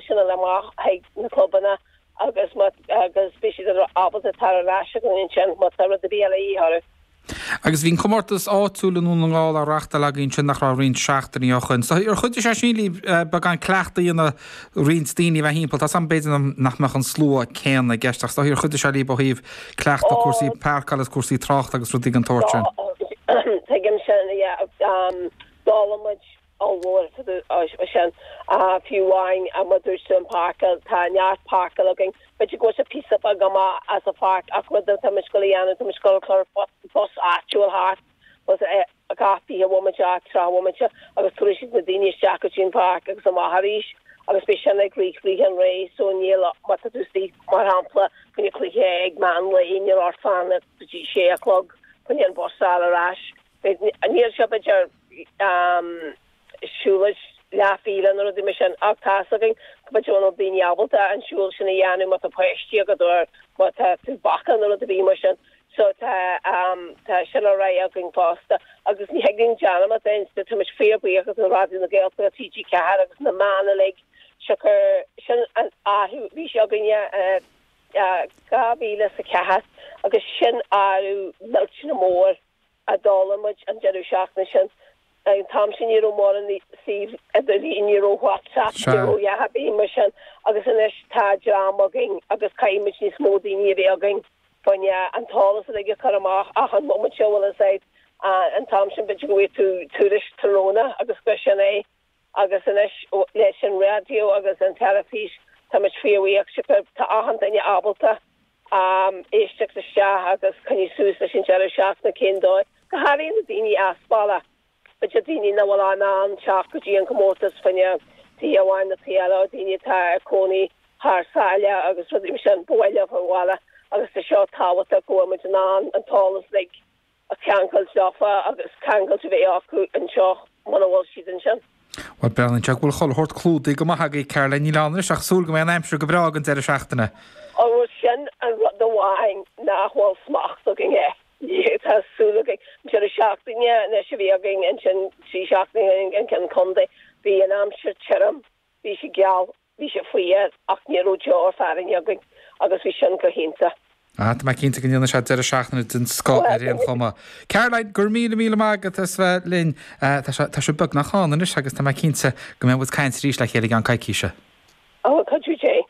t-eolas sin uile amach chuig na clubanna agus má agus beidh siad ábalta tar ar ais chugainn ansin má tá rud ar bith eile a dhíth orthu. Agus bhí an comórtas áitiúil i nDún na nGall á reachtáil againn ansin nach raibh roinnt seachtainí ó shoin. So ar chuidigh sé sin libh beagán cleachtaidh a dhéanamh roinnt daoine a bheith thimpeall? Tá 's agam b'fhéidir nach mbeadh an slua céanna i gceist ach is dóigh ar chuidigh sé libh ó thaobh cleachtadh cúrsaí páirceála is cúrsaí tráchta agus rudaí den tsórt sin? Tuigim sin, yeah. D'fhoghlaim muid ollmhór ó sin. Fiú amháin mar a dúirt tú an páirceáil, tá neart páirceáil againn. B'fhéidir go bhfuil sé píosa beag amach as an pháirc ach rud atá muid ag dul a dhéanamh, tá muid ag dul a chur bus áitiúil thart, bus gach 20 bhomaite, 30 bhomaite agus tabharfaidh siad na daoine isteach go dtí an pháirc agus amach arís agus beidh sin ag rith rith an ré so níl, má tá tú istigh mar shampla fá choinne cluiche ag meán lae níl ort fanacht go dtí sé a chlog fá choinne an bus a fháil ar ais. Níl sé b'fhéidir siúlóid leathmhíle nó rudaí mar sin ach tá's againn go b'fhéidir go bhfuil daoine ábalta an siúl sin a dhéanamh má tá páistí agat nó má tá tú bacach nó rud ar bith mar sin. So tá tá sin á rá againn fosta agus ní thig linn dearmad a dhéanamh tá muid fíorbhuíoch do Raidió na Gaeltachta, TG4 agus na meáin uilig siocair sin an athrú bhí sé againne 2004 agus sin athrú millteanach mór a d'fhoghlaim muid an deireadh seachtaine sin. An t-am sin ní raibh mórán suíomh idirlín, ní raibh WhatsApp, ní raibh a dhath ar bith mar sin agus anois tá dream againn agus caithfidh muid níos mó daoine a bheith againn fá choinne an t-eolas uilig a chur amach achan bhomaite bhfuil a fhios agat. An t-am sin b'fhéidir go bhfaigheadh tú tuairisc tráthnóna agus gur sin é. Agus anois leis an raidió agus an teilifís tá muid fíorbhuíoch siocair tá achan duine ábalta éisteacht isteach agus coinní suas leis an deireadh seachtaine cén dóigh, go háirithe na daoine as baile, b'fhéidir daoine nach bhfuil in ann teacht go dtí an comórtas fá choinne taobh amháin nó taobh eile, daoine atá ag cónaí thar sáile agus rudaí mar sin, ba mhaith leo a bhaile agus tá seo tábhachtach go bhfuil muid in ann an t-eolas uilig a cheangailt leofa agus ceangailt a bheith acu anseo muna bhfuil siad ansin. Bhuel, breathnaíonn sé go bhfuil chuile shórt clúdaithe go maith agaibh, Caroline. Níl ann anois ach súil go mbeidh an aimsir go breá ag an deireadh seachtaine. Ó, sin an rud amháin nach bhfuil smacht againn air. Tá súil againn. An deireadh seachtaine anois a bhí againn ansin, 3 seachtaine an ceann contae, bhí an aimsir tirim, bhí sé geal. Bhí sé fuar ach ní raibh deoir fearthainne againn agus bhí sin go hiontach. Ah, tá mé cinnte go ndéanfaidh sé deireadh seachtaine den scoth ar aon chuma. Caroline, go raibh míle míle maith agat as bheith linn. Tá sé, tá sé beagnach ann anois agus tá mé cinnte go mbeidh muid ag caint arís le chéile i gceann coicíse. Ó, cuidiú Dé.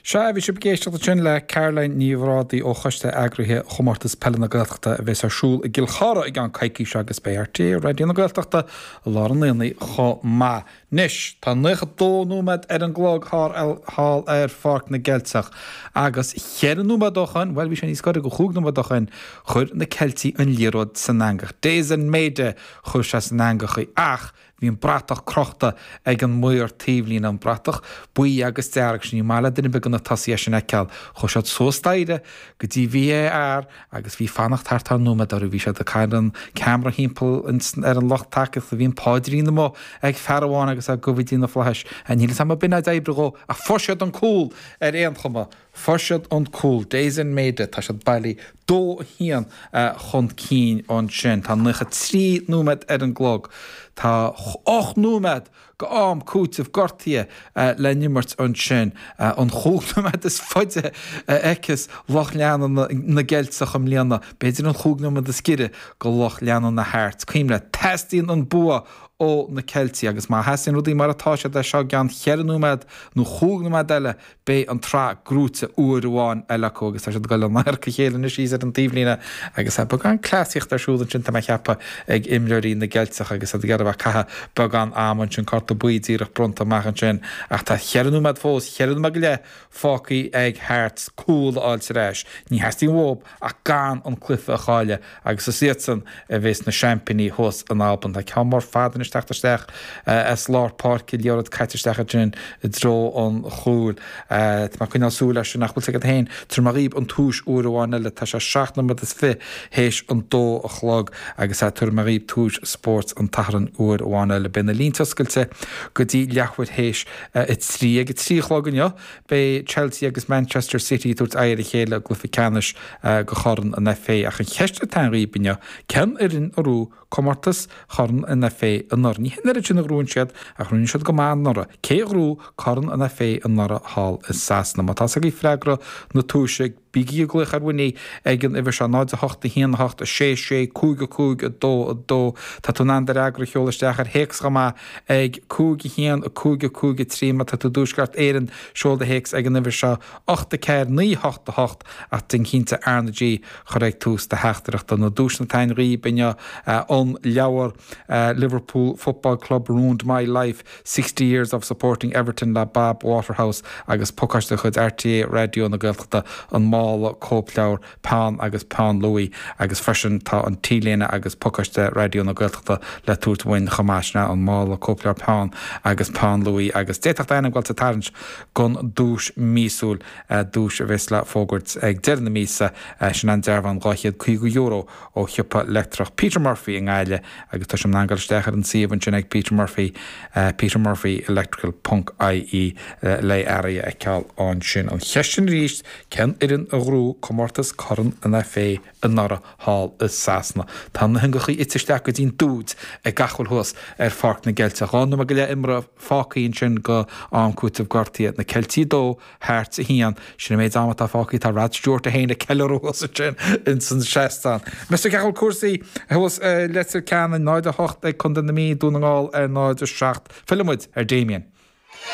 Sea, bhí sibh ag éisteacht ansin le Caroline Ní Bhrádaigh ó Choiste Eagraithe Chomórtas Peile na Gaeltachta a bheas ar siúl i gCill Chartha i gceann coicíse agus beidh RTÉ Raidió na Gaeltachta i lár an aonaigh chomh maith. Anois, tá 92 nóiméad ar an gclog thall ar Pháirc na gCeilteach agus cheithre nóiméad ó shoin, bhuel bhí sé níos gaire go chúig nóiméad ó shoin, chuir na Ceiltigh an liathróid san eangach. Daizen Maeda chuir sé san eangach í ach Bhí an bratach crochta ag an maor taobhlíne, an bratach buí agus dearg sin. Ní maith le duine ar bith de na tosaithe é sin a fheiceáil. Chuaigh siad suas staighre go dtí VAR agus bhí fanacht thart ar nóiméad orthu. Bhí siad ag cur an ceamara thimpeall ar an lucht tacaíochta. Bhí an paidrín amuigh ag fear amháin agus é ag gabh go dtí na flaithis. Níl 'fhios a'm ab in é a d'oibrigh dhó ach fuair siad an cúl ar aon chuma. Fuair siad an cúl. Daizen Maeda, tá siad bailí 2, 1 chun cinn ansin. Tá 93 nóiméad ar an gclog. Tá 8 nóiméad go am cúitimh gortaithe le n-imirt ansin. An chúig nóiméad is faide a fheiceas lucht leanúna na gCeilteach i mbliana. B'fhéidir an chúig nóiméad is giorra go lucht leanúna Hearts. Cuimhnigh, teastaíonn an bua ó na Ceiltigh agus má sheasann rudaí mar atá siad as seo i gceann cheithre nóiméad nó chúig nóiméad eile, Beidh an tsraith gnóite uair amháin eile acu agus tá siad ag dul in adharca a chéile anois thíos ar an taobhlíne agus tá beagán cleasaíochta ar siúl ansin, tá mé ag ceapadh, ag imreoirí na gCeilteach agus iad ag iarraidh a bheith ag caitheamh beagán ama ansin, cárta buí díreach bronnta amach ansin ach tá cheithre nóiméad fós, cheithre nóiméad go leith fágtha ag Hearts cúl a fháilt ar ais. Ní theastaíonn uathu ach gan an cluiche a chailleadh agus is iadsan a bheas na seaimpíní thuas in Albain. Tá ceann mór fada anois teacht isteach as lár páirce, liathróid caite isteach ansin i dtreo an chúil. Tá mé ag coinneáil súil air sin ach bhfuil 's agat féin, tabharfaidh mé dhaoib an tomhais uair amháin eile. Tá sé 7 nóiméad is 20 théis an dó a chlog agus tabharfaidh mé dhaoib tomhais spóirt an tSathairn uair amháin eile. Beidh na línte oscailte go dtí leathuair théis a 3. Ag a 3 a chlog inniu, Beidh Chelsea agus Manchester City ag tabhairt aghaidh ar a chéile i gcluiche ceannais de Chorn an FA ach an cheist atá ann dhaoib inniu, cén fhoireann a raibh. Comórtas Chorn an FA anuraidh? Ní hin oiread sin a ghnóthaíonn siad ach rinne siad go maith anuraidh. Cé a ghnóthaigh Corn an FA anuraidh thall i Sasana? Má tá's agaibh freagra na tomhaise, bígí ag glaoch ar Winnie ag an uimhir seo, 0 8 1 8 6 6 5 5 2 2. Tá tú in ann do fhreagra a sheoladh isteach ar théacs chomh maith ag 5 1 5 5 3. Má tá tú i dTuaisceart Éireann, seol do théacs ag an uimhir seo, 8 4 9 8 8 ach déan cinnte RnaG a chur ag tús do theachtaireachta. Na duaiseanna atá againn dhaoibh inniu, an leabhar Liverpool Football Club Ruined My Life, 60 Years of Supporting Everton le Bob Waterhouse agus pacáiste de chuid RTÉ Raidió na Gaeltachta, an mála cóipleabhar, peann agus peann luaidhe agus freisin tá an T-léine agus pacáiste Raidió na Gaeltachta le tabhairt uainn chomh maith, sin é an mála cóipleabhar, peann agus peann luaidhe agus d'fhéadfadh d'ainm dul sa tarraingt don duais míosúil, duais a bheas le fógairt ag deireadh na míosa, sin an dearbhán €250 ó shiopa leictreach Peter Murphy i nGaillimh agus tá sibh in ann dul isteach ar an suíomh ansin ag Peter Murphy, petermurphyelectrical ponc ie le earraí a fheiceáil ansin. An cheist sin arís, cén fhoireann a ghnóthaigh comórtas Corn an FA anuraidh thall i Sasana? Tá na heangachaí ite isteach go dtí'n dúid ag gach a bhfuil thuas ar Pháirc na gCeilteach. 2 nóiméad go leith imeartha fágtha ansin go am cúitimh gortaithe. Na Ceiltigh 2, Hearts 1. Sin an méid ama atá fágtha. Tá Rod Stewart é féin ag ceiliúradh thuas ansin ins an seastán. Meas tú cén chaoi a bhfuil cúrsaí thuas i Leitir Ceanainn, 0-8 ag Contae na Mí, Dún na nGall ar 0-7. Fillfidh muid ar Damien.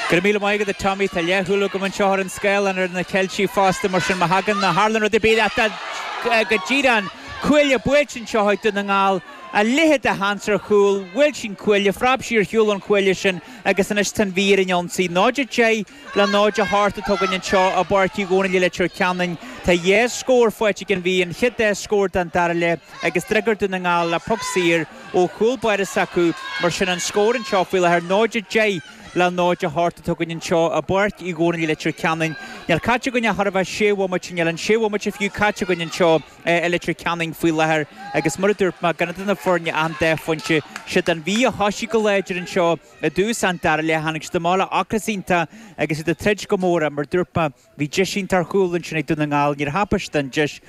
Go raibh míle maith agat a Tommy. Tá leathshúil agam anseo ar an scáileán ar na Ceiltigh fosta, mar sin má thagann, má tharlaíonn rud ar bith leat go díreach an cuaille buailte anseo ag Dún na nGall. A leithéid de sheans ar chúl, bhuail sí an cuaille, phreab sí ar shiúl ón chuaille sin agus anois tá an Mhí ar an ionsaí. 0-10 le 0-8 atá againn anseo i bPáirc Uí Dhónaill i Leitir Ceanainn. Tá dhá scór faighte ag an Mhí, an chéad dá scór den dara leath agus d'fhreagair Dún na nGall le poc saor ó chúl báire s'acu. Mar sin an scór anseo faoi láthair, 0-10 le 0-8 atá againn anseo i bPáirc Uí Dhónaill i Leitir Ceanainn. Níl caite againn ach chóir a bheith sé bhomaite, níl an sé bhomaite fiú caite againn anseo i Leitir Ceanainn faoi láthair agus mar a dúirt mé, gan idir na foirne ach an dá phointe. Siad an Mhí a thoisigh go láidir anseo. I dtús an dara leath tháinig siad amach le ocras iontach agus iad ag troid go mór ach mar dúirt mé bhí deis iontach ar chúl ansin ag Dún na nGall, níor thapaigh siad an deis,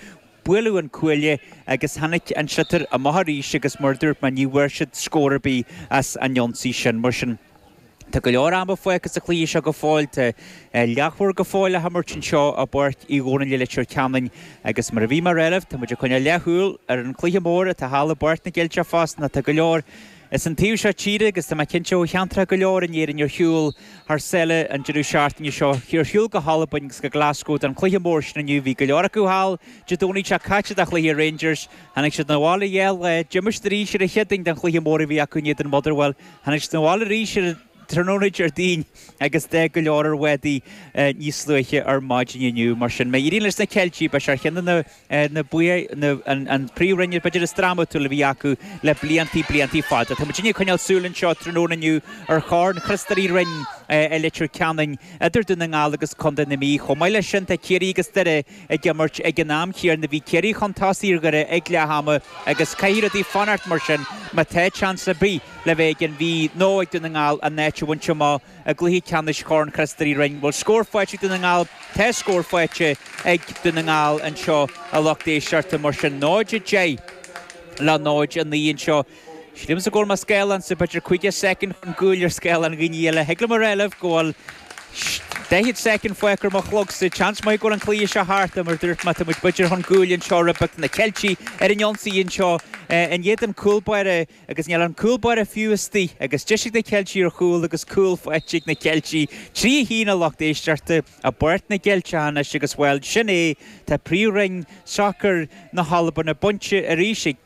buaileadh an cuaille agus tháinig an sliotar amach arís agus mar dúirt mé ní bhfuair siad scór ar bith as an ionsaí sin. Mar sin tá go leor ama fágtha sa chluiche seo go fóill, tá leathuair go fóill le himirt anseo i bPáirc Uí Dhónaill i Leitir Ceanainn agus mar a bhí mé a rá libh tá muid ag coinneáil leathshúil ar an chluiche mór atá thall i bPáirc na gCeilteach fosta nó tá go leor As an taobh seo tíre agus tá mé cinnte ó cheantracha go leor in Éirinn ar shiúl thar sáile an deireadh seachtaine seo, ar shiúl go hAlbain agus go Glasgow don chluiche mór sin inniu. Bhí go leor acu thall Dé Domhnaigh seo caite do chluiche Rangers. Tháinig siad 'na bhaile dhá lá, d'imigh siad arís ar an Chéadaoin don chluiche mór a bhí acu in éadan Motherwell. Tháinig siad 'na bhaile arís ar an tráthnóna Déardaoin agus d'fhág go leor ar bhádaí níos luaithe ar maidin inniu. Mar sin, má éiríonn leis na Ceiltigh, beidh sé ar cheann de na. na an príomhroinn b'fhéidir is drámatúla a bhí acu le bliantaí, bliantaí fada. Tá muidinne ag coinneáil súil anseo tráthnóna inniu ar Chorn Chríost Rí Roinn i Leitir Ceanainn idir Dún na nGall agus Contae na Mí. Chomh maith leis sin tá Ciarraí agus Doire ag imirt ag an am chéanna. Bhí Ciarraí chun tosaigh ar Dhoire ag leath ama agus caithfidh rudaí fanacht mar sin má tá seans ar bith le bheith ag an Mhí nó ag Dún na nGall a n-áit a bhaint amach i gcluiche ceannais Chorn Chríost Rí Roinn. Bhfuil scór faighte ag Dún na nGall? Tá scór faighte ag Dún na nGall anseo a lucht éisteachta mar sin 0-10 le 0-9 anseo. Sílimse go bhfuil mo scáileánsa b'fhéidir 50 soicind chun cúil ar scáileán dhaoine eile. Thig liom a rá libh go bhfuil 40 soicind fágtha ar mo chlogsa. Seans maith go bhfuil an cluiche seo thart mar dúirt mé tá muid b'fhéidir chun cúil anseo roimh na Ceiltigh ar an ionsaí anseo in éadan cúl báire Agus níl an cúl báire fiú istigh, agus deis ag na Ceiltigh ar chúl agus cúl faighte ag na Ceiltigh. 3-1 a lucht éisteachta i bPáirc na gCeilteach anois agus, bhuel, sin é, tá Príomhroinn Sacair na hAlban bainte arís ag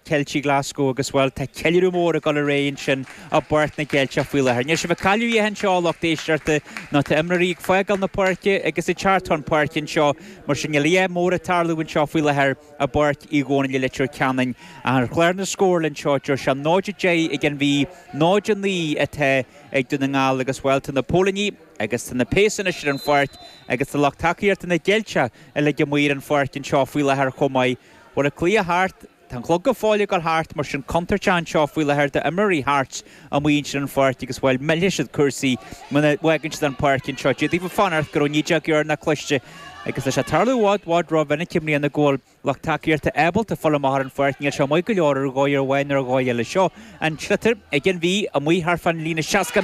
Ceiltigh Glasgow agus, bhuel, tá ceiliúradh mór ag dul ar aghaidh ansin i bPáirc na gCeilteach faoi láthair. Níl sibh ag cailleadh a dhath anseo a lucht éisteachta nó tá imreoirí ag fágáil na páirce agus ag teacht chun páirce anseo, mar sin níl a dhath mór ag tarlú anseo faoi láthair. I bPáirc Uí Dhónaill i Leitir Ceanainn. Ar chlár na scórála anseo deir sé 0-10 ag an Mhí, 0-9 atá ag Dún na nGall agus, bhuel, tá na póilíní agus tá na péas anois ar an pháirc agus tá lucht tacaíochta na gCeilteach uilig amuigh ar an pháirc anseo faoi láthair chomh maith. Bhfuil an cluiche thart? Tá an clog go fóill ag dul thart, mar sin contúirt anseo faoi láthair d'imreoirí Hearts amuigh ansin ar an pháirc agus, bhuel, millfidh siad cúrsaí muna bhfágann siad an pháirc anseo. D'fhéadfadh fanacht go raibh 19 dheireanach cloiste agus tá sé ag tarlú i bhfad, bhfad rómhinic i mbliana go bhfuil lucht tacaíochta ábalta fáil amach ar an pháirc. Níl sé maith go leor ar dhóigh amháin nó ar dhóigh eile. Seo an sliotar ag an Mhí amuigh thart fán líne 60.